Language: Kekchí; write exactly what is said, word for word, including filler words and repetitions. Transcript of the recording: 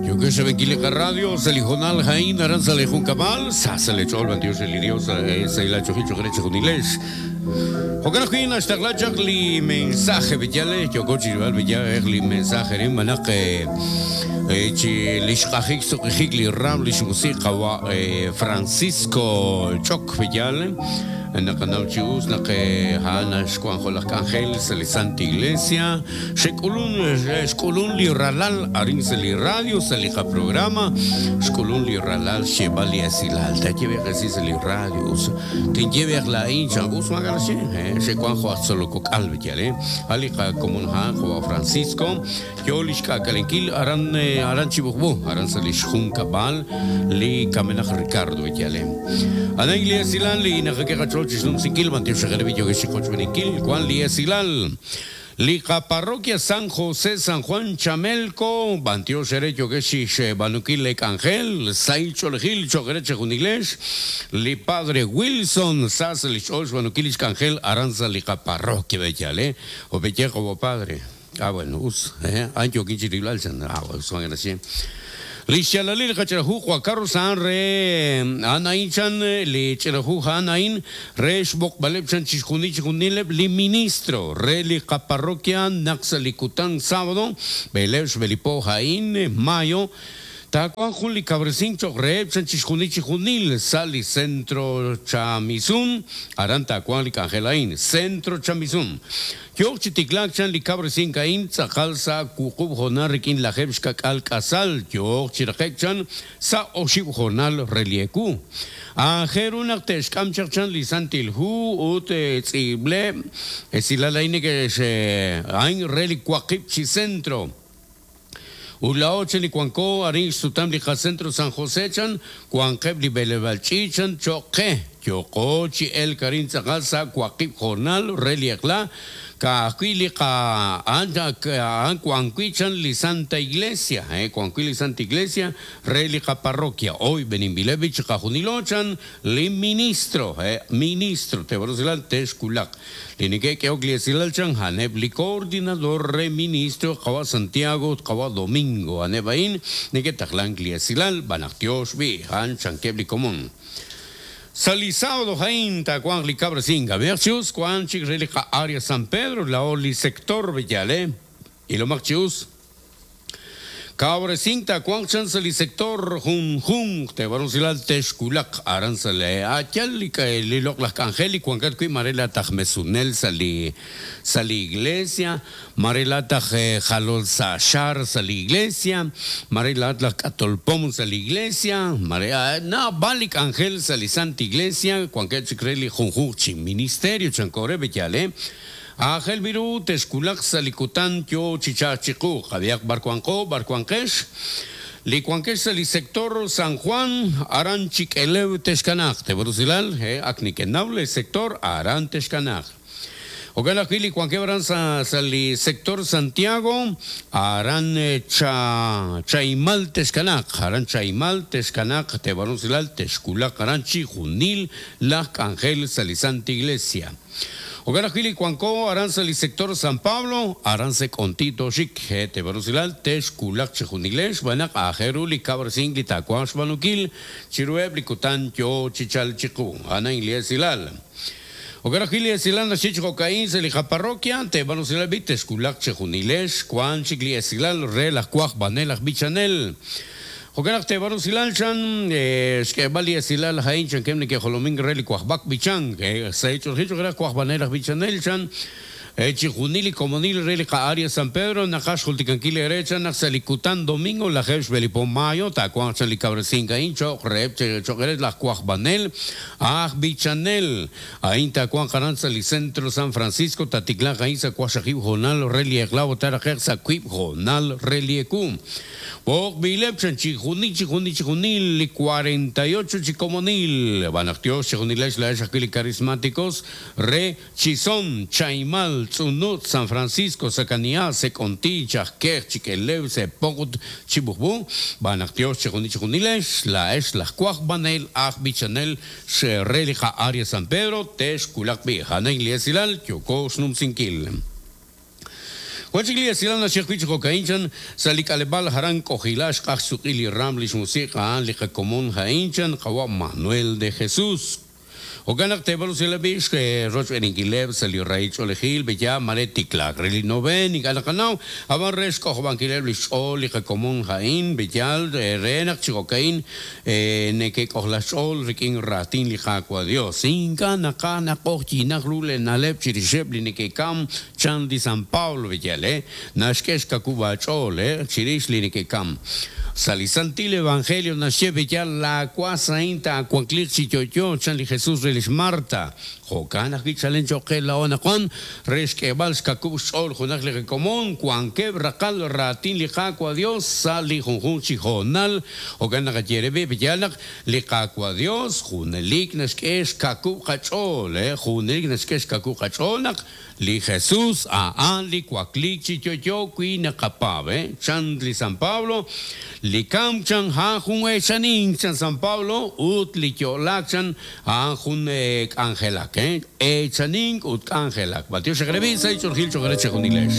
Yokesh Benkili Radio, Salijonal Jaín, Aranza Lejuncabal, Sasa Lechol, Bandios el Dios, Saila Chojicho Greche Junilesh. Jokanajin hasta li mensaje bellale, yokochi rival bellale, li mensaje rin manaq chi lixqajik suqijik li ram li musiqa wa Francisco Choc bellale. Naqanaw chi us naq ha'an xwanjo laj k'anjel sa' li Santa Iglesia xek'ulun xk'ulun li ralal arin sa' li radio sa' li qaprograma xk'ulun li ralal xyeb'al li esilal tayeb'ej esi sa' li radio us tinyeb'ej la'in chan us magalaxi xewanjo aj tzolokok'al bellale ali qakomon ha'an jo'wa Francisco yo li xk'ak'alenkil aran aran chibujb'u aran sa' li xjunkab'al li kamenaj Ricardo bellale ana li esilal li naqak'e qach'ool Chisnum Mantió Xajerevillo Geshicochbeniquil, Juan Liesilal, Liga Parroquia San José San Juan Chamelco, Bantio Xerecho Geshish Banuquil Lek Ángel, Sail Cholejil Chogereche Juniglesh, Li Padre Wilson, Sas Lich Osh Banuquil Ángel, Aranza Liga Parroquia Bellale, o Bellejo Padre. Ah, bueno, us, eh, Ancho Quinchiriblal, ah, bueno, son gracias. Lixalalil qacharahu Juan Carlos San re anain chan li charahu anain re xbok baleb chan chixjuni chixjunileb li ministro re li parroquia Naxalicután sábado belev xbelipo jain mayo Tacuan juli cabrecín choqreb chan chixjuni chixjunil sali centro chamizun aran tacuan li cangelain centro chamizun Yok chitiklak chan li cabrecín kain tzakal sa kuqub jonal rikin lajeb xkakal kasal yok chiraqek chan sa oxib jonal relieku Ajerunak texkam chan li santilhu ut tzible esilalaine que se ain reli kuaqib chi centro Ulaochen li cuanco arin sutam li centro San José chan cuanqeb li belebalchi chan choque yokochi el karin tzakal sa kuaqib jornal reliekla ka ka anda an cuanqui chan li Santa Iglesia eh cuanqui li Santa Iglesia relica parroquia hoy Benimbilevich kajunilochan li ministro eh ministro te barozilal texkulak linike que ogliesilal chan haneb li coordinador re ministro kawa Santiago kawa Domingo anebain nike taklan gliesilal banaktios bi han chankebli común Sali sábado jain tacuan li cabra singa versus cuan chik relica área San Pedro la oli sector Villale y lo marchius Cabre cinta cuan chan sali sector jun jun te baronsilal texkulak aranzale achal li li lok las angeli cuan kat kui marela tajmesunel sali sali iglesia marela taj jalol sa shar sali iglesia marela tlak atolpom sali iglesia marea na balik angel sali santa iglesia cuan kat chikreli jun jun chi ministerio chancore bechale Ángel Viru, Texculac, Salicután, Yo, Chichachicu, Javier Barcuanco, Barcuanquesh, Licuanquesh, el sector San Juan, Aran Chiquelev, Texcanac, de Brusilal, eh, Acniquenable, sector Aran Texcanac. Ojalá que Licuanquebran sali sector Santiago, Aran cha Chaimal Texcanac, Aran Chaimal Texcanac, de Brusilal, Texculac, Aran Chijunil, Lac Ángel, Salisanta Iglesia. Ojalá que Cuanco, Aranza el sector San Pablo, Aranza Contito Chic, Te Barusilal, Texculac, Chejunilesh, Banak, Ajeruli, Cabracín, Litacuash, Banukil, Chirueb, Licután, Yo, Chichal, Chicu, Ana Ingliesilal. Ojalá que Esilal, Chicho Cocaín, Selija Parroquia, Te Barusilal, Texculac, Chejunilesh, Cuan, Chicli, Esilal, Relaj, Cuaj, Banelaj, Bichanel. Ojalá te barusilal chan, xkebali esilal jain chan kemne que jolomín reli cuajbak bichan, que se ha hecho el hecho que era cuajbaneras bichanel chan, Chijunili comonil reli ka área San Pedro, nakash julticanquile derecha, naxalicután domingo, la jesh belipón mayo, tacuan chali cabrecinca incho, rep, choqueret, la cuajbanel, aj bichanel, ain tacuan caranza li centro San Francisco, taticlán jainza cuashajib jonal, reli eglavo tarajer, sacuib jonal, reli ecum. Bok bilep chan chijuni, chijuni, chijunil, cuarenta y ocho chicomonil, banactios, chijunilesh, la eshakili carismáticos, re chizón, chaimal, Tzunut, San Francisco, Sacaniá, Seconti, Chasquer, Chiquelev, Sepogut, Chibujbu, Banactios, Chijuni, Chijunilesh, la esh, la cuaj, banel, aj, bichanel, Xerrelija, Área San Pedro, Tesh, Kulakbi, Hanen, Liesilal, Yoko, Snum, Sinkil. Wachik li esilal naxye wi' chi jo'ka'in chan sa' li k'aleb'aal aran K'ojila xq'aj xsuq'i li ram li xmusiq' a'an li qakomon ha'in chan qawa' Manuel de Jesús. Jo'kan naq teeb'al usilal b'ix rochb'eeninkileb' sa' li rahil ch'oolejil beya mare tiklaak re li noven ink'a' naqanaw ab'an re xk'ojob'ankileb' li xch'ool li qakomon ha'in beyal re naq chi jo'ka'in neke'k'ojla xch'ool rik'in raatin li Qaawa' Dios. Ink'a' naqa naq'ojyinaq ru le na'leb' chirixeb' li neke'kam chan li San Pablo beyal eh naxk'e xkakub' aach'ool eh chirix li neke'kam. Sa' li Santil Evangelio naxye beyal la wasain taawankliq chi yo'yo chan li Jesús re lix Marta. Jo'kan ajwi' chalen cho'q qe laa'o anaqwan re xk'eeb'al xkakub' xch'ool junaq li qakomon wankeb' raqal raatin li Qaawa' Dios sa' li junjunq chi hoonal. Jo'kan naqaye re beyal naq li Qaawa' Dios junelik naxk'e xkakub' qach'ool eh junelik naxk'e xkakub' qach'ool naq li Jesús a'an li wakliik chi yo'yo wi naqapaab' eh chan li San Pablo li kam chan a'an jun eechanin chan San Pablo ut li yo'laak chan a'an jun k'anjelak eh eechanin ut k'anjelak. Matiox xeqrebi sa' ch'oolejil cho'q re chejunilex.